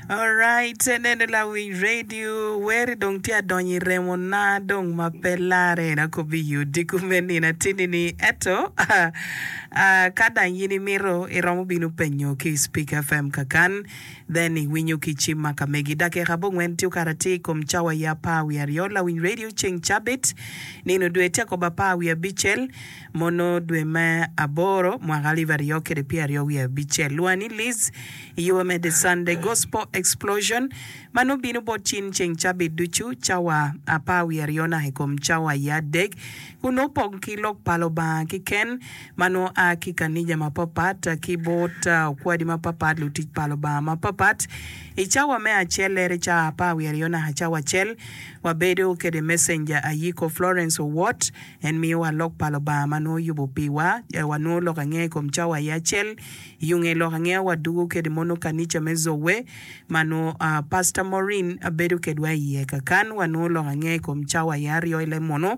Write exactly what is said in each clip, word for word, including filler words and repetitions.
Alright, neno lawiny radio weri dong tye adonyo i remo na dong ma pe lare en akobi i odiko me nino atini ni eto uh, ka dang in imito iromo bino penyo ki Speak F M kakan then iwinyo ki cim ma ka megi. Dakika abongwen tye okato atir i kom cawa ya apar wiye aryo. Lawiny radio, ceng cabit nino dwe tye akobo apar wiye abicel mono dwe me aboro mwaka alip aryo kede pyera aryo wiye abicel. Lwani Liz iyubo me The Sunday Gospel Explosion ma nongo bino bot cin ceng cabit ducu cawa apar wiye aryo naka i kom cawa ya adek kun nongo pong ki lok pa Lubanga keken ma nongo a ki kanija mapapat ki bot okwadi mapapat, lutic pa Lubanga mapapat. I cawa me acel lere cawa apar wiye aryo naka cawa acel wabedo kede messenger Ayiko Florence Owot. En miyowa lok pa Lubanga ma nongo yubo piwa. Wanongo lok angeya i kom cawa ya acel. Yunge lok angeya wadugo kede mono kanica me Zowe ma nongo uh, Pastor Maureen bedo kedwa iye kakan. Wanongo lok angeya i kom cawa ya aryo ile mono.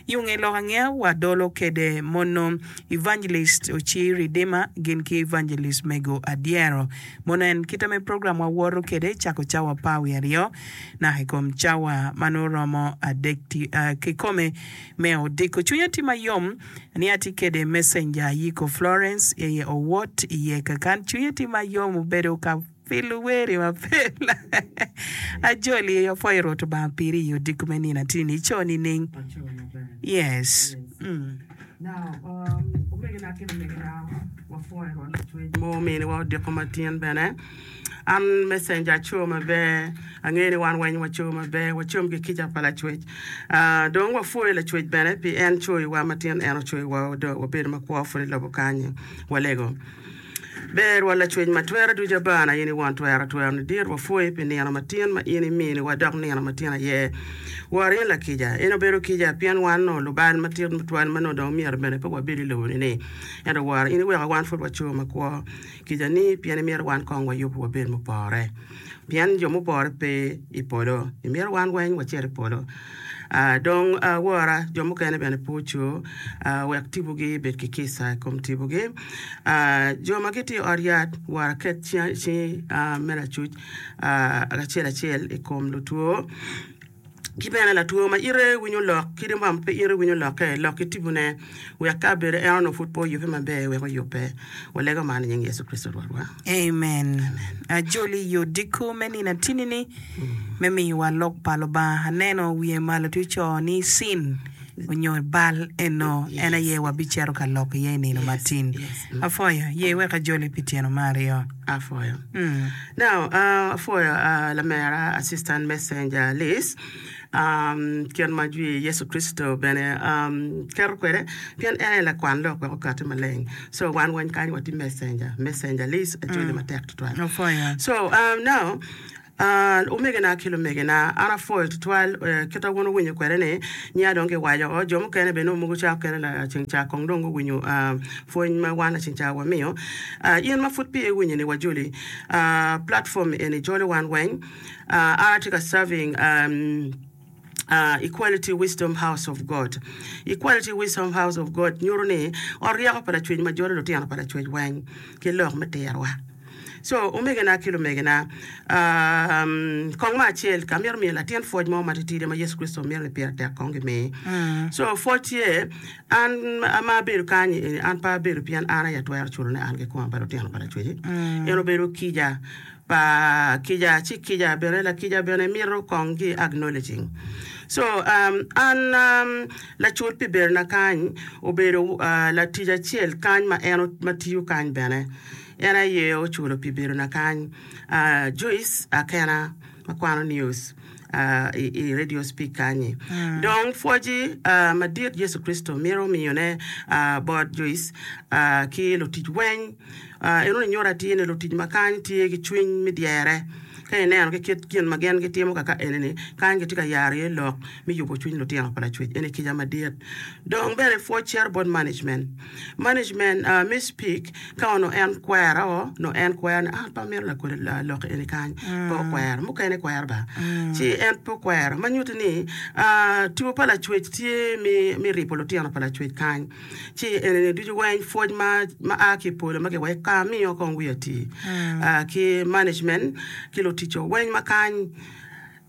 Yunge lok angeya wadolo kede mono Evangelist Oci Redeemer gin ki Evangelist Mego Adyero. Mono en kite me program wawoto kede cako cawa apar wiye aryo naka i kom cawa ma nongo romo adek uh, kikome me odiko. Cwinya tye mayom ni atye kede messenger Ayiko Florence iye Owot iye kakan. Cwinya tye mayom obedo ka pilo weri mapel. Ajoli apwoyo Rwot Obanga piri i odiko me nino atini. Ico nining? Yes. Mm. Now, um, omegina ki lumegina, wapwoyo Rwot Lacwec mo ominiwa odiko matin bene. An messenger aco maber, angeyo ni wan weng waco maber, wacom ki kica pa Lacwec. Uh, dong wapwoyo Lacwec bene pi en coyowa matin, en ocoyowa wabedo makwo pud i lobo kany. Walego. Ber wa Lacwec ma twero ducu abana in i won twero twero ni dit wapwoyi pi nino matin ma in iminiwa dok nino matin aye. Wor in lakica. En obedo kica pien wan no lubal matit matwal ma nongo dong myero bene pe wabedo i lobo ni ni. Ento wor in iweko wan pud waco makwo. Kica ni pien imito wan kong wayub wabed mupore. Pien jo mupore pe i polo. Imito wan weng wacit i polo. Uh, dong uh, wora jo mukene bene pe oco uh, wek tibugi bed ki kica i kom tibugi. Uh, jo ma gitye i ot yat wora ket cingi uh, me lacuc uh, acel acel i kom lutwo ki bene latwo ma ite winyo lok kadi ma pe ite winyo lokke lok ki tibune wek ka bedo en onongo pud pe oyubbe maber wek oyubbe. Walego man i nying Yecu Kricito Rwotwa. Amen. Ajoli i odiko me nino atinini me miyowa lok pa Lubanga. Aneno wiye malo tye oco ni sin onyo bal eno en aye wabicito ka lok iye i nino matin. Apwoyo ye wek ajoli pi tyeno me aryo. Apwoyo. Mm. Now, uh, apwoyo uh, lamera assistant messenger Liz. Um, kit ma jwi Yecu Kricito bene um, keto kwede pien en aye lakwan lok wek okati maleng. So wan weng kany watye messenger, messenger Liz ajoli matek tutwal. Apwoyo. So um, now Uh, omegina ki lumegina, an apwoyo tutwal uh, kita wun owinyo kwede ni nya dong kiwaco o jo mukene bene mogo ca okene laceng ca kong dong guwinyo uh, pwony ma wan laceng ca wamiyo. uh, in ma pud pe iwinyo ni wajoli uh, platform eni jolo wan weng. uh, an atye ka serving um, uh, Equality Wisdom House of God. Equality Wisdom House of God nyuto ni ot ryeko pa Lacwec ma jolo lutino pa Lacwec weng ki lok me tirwa. So omegina ki lumegina, um, kong ma acel ka mito miyo latin pwoc mo matitidi ma Yecu Kricito mito ni pire tek kong gimi. So pwoc tye an ma abedo kany eni, an pe abedo pien an aye atwero culone an kikoma pa lutino pa Lacweci. En obedo kica pa kica ci kica bene lakica bene mito kong ki acknowledging. So um, an um, lacul pi bedona kany obedo uh, latic acel kany ma en ma tiyo kany bene en aye oculo pi bedona kany, uh, Joyce Akena ma kwano news uh, i, i Radio Speak kanyi. Mm. Dong pwoci uh, madit Yecu Kricito mito miyone uh, bot Joyce uh, ki lutic weng. uh, eno ni nyuto atir ni lutic ma kany tye ki cwiny me dyere. Ka ineno ki kit gin ma gin gitimo kaka eni-ni, kany gitye ka yaro iye lok me yubo cwiny lutino pa Lacwec. Eni kica madit. Dong bene pwoc cito bot management. Management uh, me Speak ka onongo en kwero, onongo en kwero ni an pe amito lakodi lok eni kany. Pe okwero. Mukene kwero ba. Ci en pe okwero. Ma nyuto ni uh, tipo pa Lacwec tye me, me ribo lutino pa Lacwec kany. Ci enini ducu weng pwoc ma, ma a ki i polo ma kiwaco ka amiyo kong wiya ti uh, ki management ki lutino ticco weng ma kany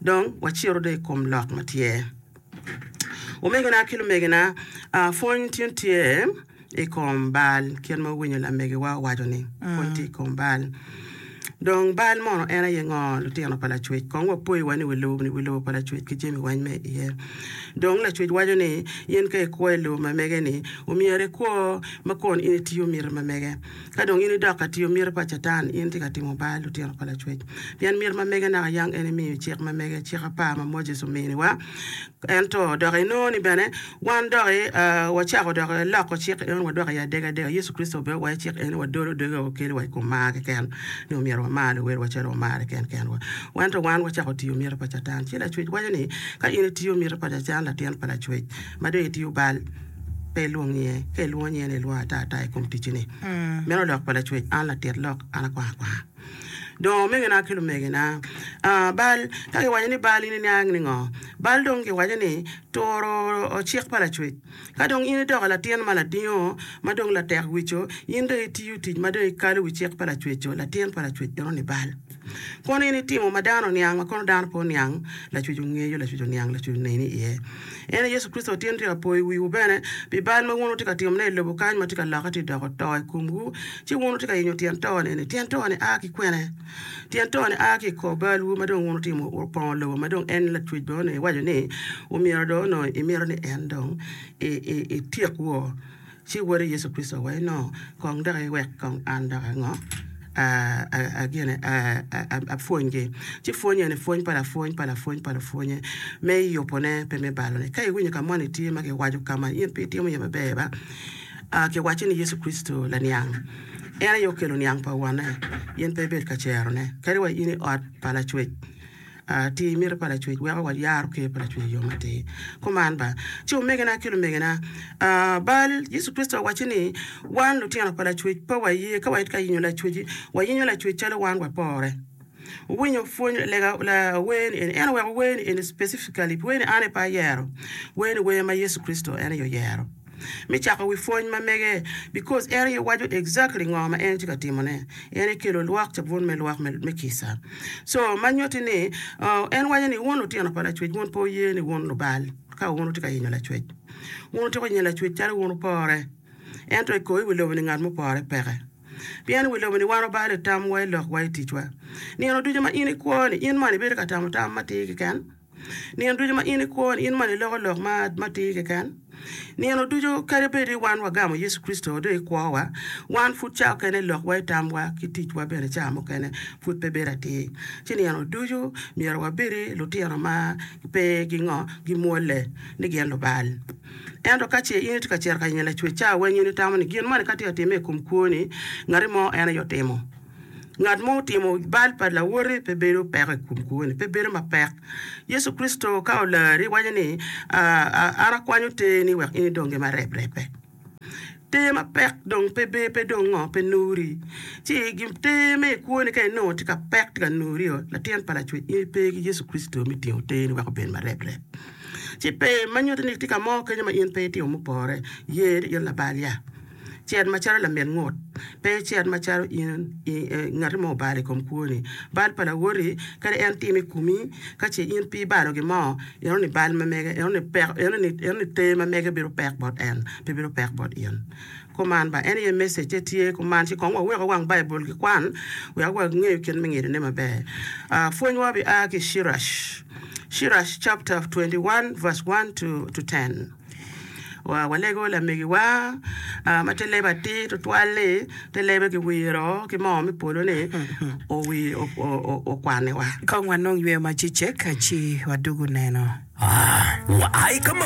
dong wacito dong i kom lok ma tye. Omegina ki lumegina, pwony tin tye i kom bal kit ma wuwinyo lamegiwa owaco ni pwony tye i kom bal. Dong bal mono en aye ngo lutino pa Lacwec? Kong wapoyi wa ni wi lobo ni wi lobo pa Lacwec ki jami weng me iye. Dong Lacwec waco ni in ka ikwo i lobo ma mege ni omyero ikwo ma kun in itiyo miti ma mege. Ka dong in idok ka tiyo miti pa Catan, in itye ka timo bal lutino pa Lacwec. Pien miti ma mege naka yang en imiyo cik ma mege, cik apar ma Moses ominiwa. Ento dok inongo ni bene wan doki wacako dok loko cik eno wadok iye adegadega. Yecu Kricito bene owaco cik eni wadolo doge wakelo wa i kom mar keken, ni omyero wamar luwotwa calo wamare ken kenwa. Ento wan wacako tiyo miti pa Catan. Ci Lacwec waco ni, ka in itiyo miti pa Catan, latin pa Lacwec, ma dong itiyo bal, pe ilwong nyinge. Ka ilwongo nyinge ni ilwongo ata ata i kom ticci-ni. Meno lok pa Lacwec, an latit lok, an akwang akwanga. Dong omegina ki lumegina, bal, ka kiwaco ni bal in iniang ni ngo? Bal dong kiwaco ni turo cik pa Lacwec. Ka dong in idoko latin ma ladingo, ma dong latek wico, in dong itiyo tic ma dong ikalo wi cik pa Lacwec-co, latin pa Lacwec eno ni bal. Kono in itimo ma dano oniang, ma kono dano pe oniang, Lacwec ongeyo, Lacwec oniang, Lacwec oneni iye. En aye Yecu Kricito tin tye ka poyo wiwu bene pi bal ma wun wutye ka timone i lobo kany ma tye ka lokke tye doko to i komwu, ci wun wutye ka yenyo tyen to-ni eni. Tyen to-ni a ki kwene? Tyen to-ni a ki i kor balwu ma dong wun wutimo opongo lobo ma dong en Lacwec bene onongo iwaco ni omyero dong onongo imito ni en dong etyek wo. Ci Wode Yecu Kricito owaco ni, Kong dok iwek kong an dok ango? Agine, apwonygi. Ci pwony eni pwony pa lapwony pa lapwony pa lupwonye me yubone pe me balone. Ka iwinyo ka moni tye ma kiwaco ka ma in pe itimo iye maber ba, kiwacci ni Yecu Kricito laniang. En aye okelo niang pa Wonne. In pe ibed ka cerone, kadi wa in i ot pa Lacwec. Tir miti pa Lacwec weko wayaro Ker pa Lacwec i yo matir. Kuman ba, ci omegina ki lumegina, bal Yecu Kricito owacci ni wan lutino pa Lacwec pe waye ka watye ka yenyo Lacwec, wayenyo Lacwec calo wan wapore. Wuwinyo pwony lega la wer ni eni, en oweko wer ni eni specifically pi wer ni an aye pe ayero, wer ni wer ma Yecu Kricito en aye oyero. Me cako wi pwony ma mege because en aye waco exactly ngo ma en tye ka timo ne. En aye kelo lwak cabun me lwak me kica. So ma nyutti ni en waco ni wun lutino pa Lacwec wun pe wuye ni wun lubal ka wun wutye ka yenyo Lacwec. Wun wutye ka yenyo Lacwec calo wun wupore. Ento i kor i wi lobo ni ngat mupore peke. Pien i wi lobo ni wan wabalo i tamwa, i lokwa, i ticwa. Nino ducu ma in ikwo ni in mono ibedo ka tamo tam matir keken? Nino ducu ma in ikwo ni in mono iloko lok ma matir keken? Nino ducu kadi bed ni wan wagamo Yecu Kricito dong i kwowa, wan pud ca okene lokwa i tamwa ki ticwa bene ca mukene pud pe bedo atir. Ci nino ducu myero wabedi lutino ma pe gingo gimwolle ni gin lubal. Ento ka ce in itye ka cito ka yenyo Lacwec ca weng in itamo ni gin moni ka tye ka timme i kom kwoni ngati mo en aye otimo. Ngat mo otimo bal pa lawoti pe bedo peko i kom kwoni, pe bedo mapek. Yecu Kricito ka olari waco ni, An akwanyo terni wek in idongi ma reprepe. Ter mapek dong pe ber, pe dong ngo, pe nuri. Ci gin ter me i kwoni ka inongo tye ka pek, tye ka nuri-o, latin pa Lacwec, in ipe ki Yecu Kricito me tingo terni wek obed ma reprep. Ci pe ma nyuto ni tye ka mo kenyo ma in pe itimo mupore, ye ni in labal ya. Cet macalo lamit ngut, pe icet macalo in ngati mo obalo i kom kwoni. Bal pa lawoti, kadi en timo i komi, ka ce in pe ibalo gin mo, eno ni bal ma mege, eno ni peko, eno ni, eno ni ter ma mege bedo pek bot en, pe bedo pek bot in. Kuman ba, en aye message-ce tye kuman, ci kong waweko wang Baibul ki kwan, wek wangeyo kit me ngidone maber. Uh, pwonywa bia ki i Cirac, Cirac chapter twenty one verse one to, to ten. Walego lamegiwa ma te lebe atir tutwal-li, te lebe kiwiro ki moo me polo-ni okwaniwa. Kong wanong yweyo macecek ci wadwogo neno. Waa i ka maber.